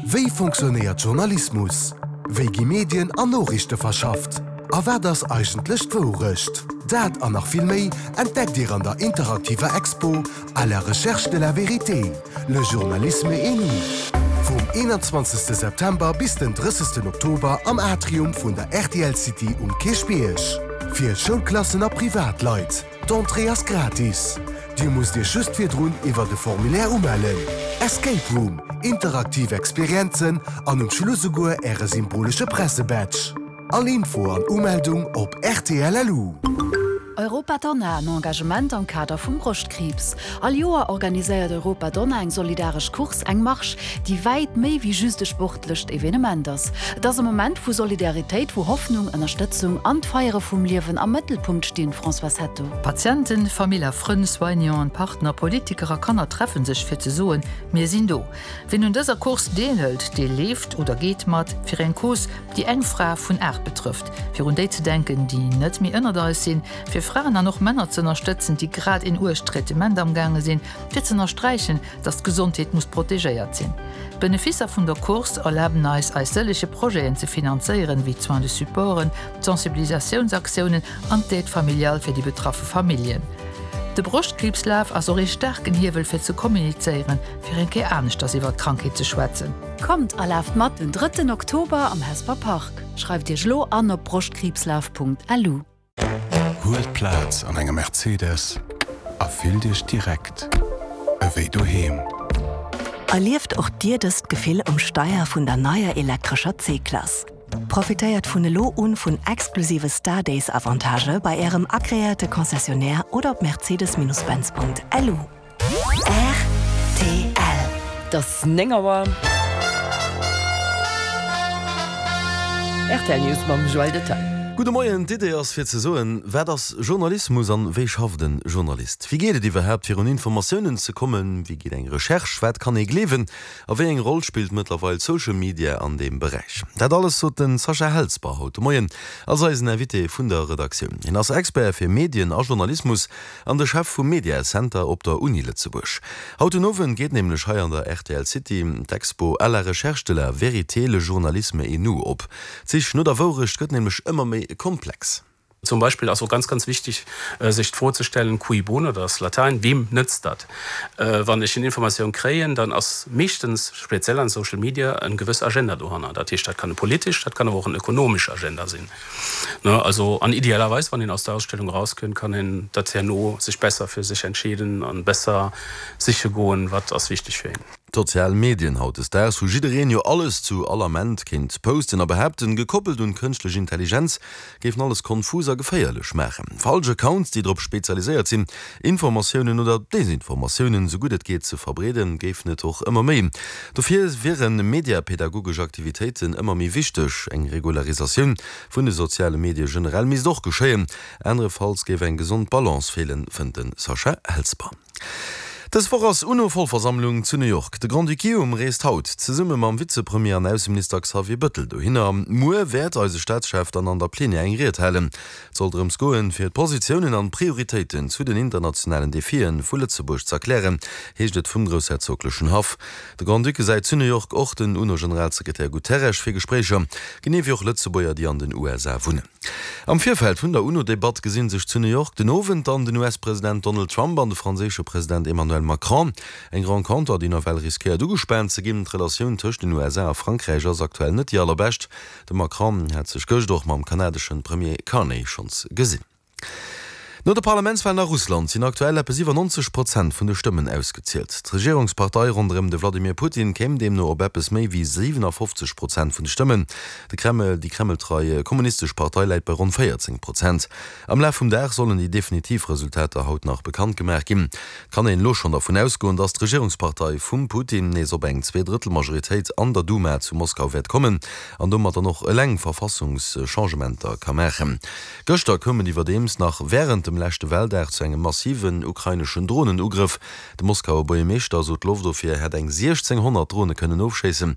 Wéi fonctionnéiert Journalismus? Wéi gi Medien an Noriichte verschafft? A wat ass eigentlech d'Wourecht? Dat an nach vill méi entdeckt Dir an der interaktiver Expo À la recherche de la vérité, le journalisme et nous vum 21 September bis den 30 Oktober am Atrium vun der rtl City um Kierchbierg. Fir Schoulklassen a Privatleit. D'Entrée ass gratis. Dir musst Iech just virdrun iwwert e Formulaire umellen. Escape Room, interaktiv Experienzen an um Schluss esouguer Äre symbolesche Pressebadge. All Info an Umeldung op rtl.lu. Europa Donna, en Engagement am Kader vum Broschtkriibs. All Joer organiséiert Europa Donna eng solidaresch Course, eng Marsch, déi wäit méi wéi just e sportlecht Evenement ass. Et ass e Moment vu Solidaritéit, wou Hoffnung, Ënnerstëtzung an d'Feiere vum Liewen am Mëttelpunkt stinn. Françoise Hetto. Patienten, Famill a Frënn, Soignanten, Partner, Politiker a Kanner treffen sech fir ze soen, Mir sinn do. Wien un dëser Course deelhëlt, dee leeft oder geet mat fir eng Cause, déi eng Fra vun 8 betrëfft, fir un déi ze denken, déi net méi ënnert eis sinn, fir Fraen an och Männer ze ënnerstëtzen, déi grad een uergt Traitement amgaange sinn, fir ze ënnersträichen, dass d'Gesondheet muss protegéiert sinn. D'Beneficer vun der Course erlaben eis, eis sëllege Projeten ze finanzéieren, wéi d'Soins de supporten, d'Sensibilisatiounsaktiounen an d'Aide familiale fir déi betraffe Familljen. De Broschtkriibslaf ass och ee staarken Hiewel fir ze kommunizéieren, fir eng Kéier aneschters iwwer d'Krankheet ze schwätzen. Kommt a laaft mat den drëtten Oktober am Hesper Park. Schreift Iech elo an op broschtkriibslaf.lu. Huelt Plaz an engem Mercedes a fillt Iech direkt ewéi doheem. Erlieft och Dir dëst Gefill um Steier vun der neier elektrescher C-Klass. Profitéiert vun elo un vun exklusive Star Days Avantagë bei Ärem agreéierte Concessionnaire oder op mercedes-benz.lu. Rtl. Et ass 9 Auer. Rtl News mam Joël Detaille. Gudde Moien, D'Idee ass fir ze soen, wat ass Journalismus an wéi schafft en Journalist? Wéi geet et iwwerhaapt fir un Informatiounen ze kommen? Wéi geet eng Recherche? Wat kann ee gleewen? A wéi eng Roll spillt mëttlerweil Social Media an deem Beräich? Dat alles sot de Sascha Helsper haut de Moien als eisen Invité vun der Redaktioun. Hien ass Expert fir Medien a Journalismus An de Chef vum Media Center op der Uni Lëtzebuerg. Haut den Owend geet nämlech hei an der rtl City d'Expo À la recherche de la vérité, le journalisme et nous op. D'Sich no der Wourecht gëtt nämlech ëmmer méi komplex. Zum Beispill ass och ganz, ganz wichtig, sech d'Fro ze stellen, cui bono, dat ass Latäin, weem nëtzt dat? Wann ech en Informatioun kréien, dann ass meeschtens, speziell an Social Media, en gewëss Agenda dohanner. Dat heescht, dat kann e politesch, dat kann awer och en ökonomesch Agenda sinn. Ne, also an idealerweis, wann een aus der Ausstellung erauskënnt, kann een dat herno sech besser fir sech entscheeden an besser siche goen, wat ass wichteg fir een. D'sozial Medien hautdesdaags, wou jiddereen jo alles zu all Ament kéint posten a behaapten, gekoppelt un d'kënschtlech Intelligenz, géifen alles konfus a geféierlech maachen. Falsch Accounts, déi drop spezialiséiert sinn, Informatiounen oder Desinformatiounen esou gutt et geet ze verbreeden, géifen et och ëmmer méi. Dofir wiere mediapädagogesch Aktivitéiten ëmmer méi wichteg. Eng Regularisatioun vun de soziale Medie generell misst och geschéien, anerefalls géif eng gesond Balance feelen, fënnt de Sascha Helsper. Dës Woch ass UNO-Vollversammlung zu New York. De Grand-Duc Guillaume reest haut zesumme mam Vizepremier an Ausseminister Xavier Bëttel dohinner. Muer wäert eise Staatschef dann an der Plenière eng Ried halen. Et soll drëms goen, fir d'Positiounen an d'Prioritéiten zu den internationalen Defie vu Lëtzebuerg z'erklären, heescht et vum groussherzoglechen Haff. De Grand-Duc gesäit zu New York och den UNO-Generalsekretär Guterres fir Gespréicher, genee wéi och Lëtzebuerger, déi an den USA wunnen. Am Virfeld vun der UNO-Debatt gesi sech zu New York den Owend dann den US-President Donald Trump an de franséische President Emmanuel Macron. Eng Renconter, déi nawell riskéiert ugespaant ze ginn. D'Relatioun tëscht den USA a Frankräich ass aktuell net déi allerbescht. De Macron hat sech gëscht och mam kanadeschen Premier Carney schonns gesinn. No de Parlamentswalen a Russland sinn aktuell eppes iwwer 90 Prozent vun de Stëmmen ausgezielt. D'Regierungspartei ronderëm de Vladimir Putin kéim deemno op eppes méi wéi 57 Prozent vun de Stëmmen. De Kreml, déi kremltrei kommunistesch Partei läit bei ronn 14 Prozent. Am Laf vum Dag sollen déi definitiv Resultater haut nach bekannt gemaach ginn. Et kann een elo schonn dervun ausgoen, datt d'Regierungspartei vum Putin nees op eng Zweedrëttelmajoritéit an der Duma zu Moskau wäert kommen an domat dann och eleng Verfassungschangementer ka maachen. Gëschter koum et iwwerdeems nach wärend dem leschte Waldag zu engem massiven ukraineschen Dronenugrëff. De Moskauer Buergermeeschter sot, d'Loftofwier hätt eng 1.600 Drone kënnen ofschéissen.